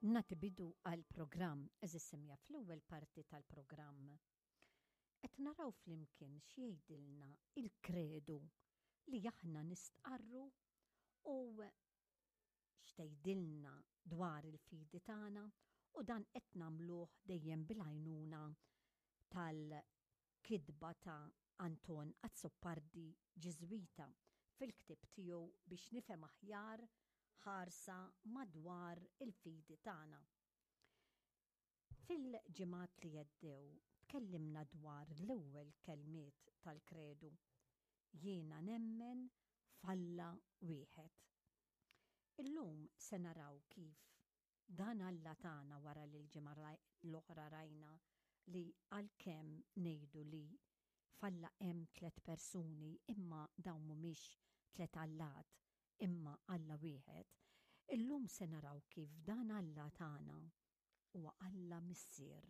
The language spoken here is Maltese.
Nagħti bidu għall-programm, għeżież semmiegħa fl-ewwel parti tal-programm. Qed naraw flimkien x'jgħidilna il-kredu li aħna nistqarru u x'tgħidilna dwar il-fidi tagħna u dan qed nagħmluh dejjem bil-għajnuna tal-kitba ta' Anton Azzopardi Ġiżwita fil-ktieb tiegħu biex nifhem aħjar ħarsa madwar il-fidi tagħna. Fil-ġimgħat li għeddew tkellimna dwar l-ewwel kelmiet tal-kredu, Jiena nemmen f'Alla wieħed. Illum se naraw kif dan Alla tagħna wara li l-ġimgħa l-oħra rajna li għalkemm ngħidu li f'Alla hemm tlett persuni imma dawn mhumiex tlett allat imma Alla wieħed, illum se naraw kif dan Alla tagħna huwa Alla Missier.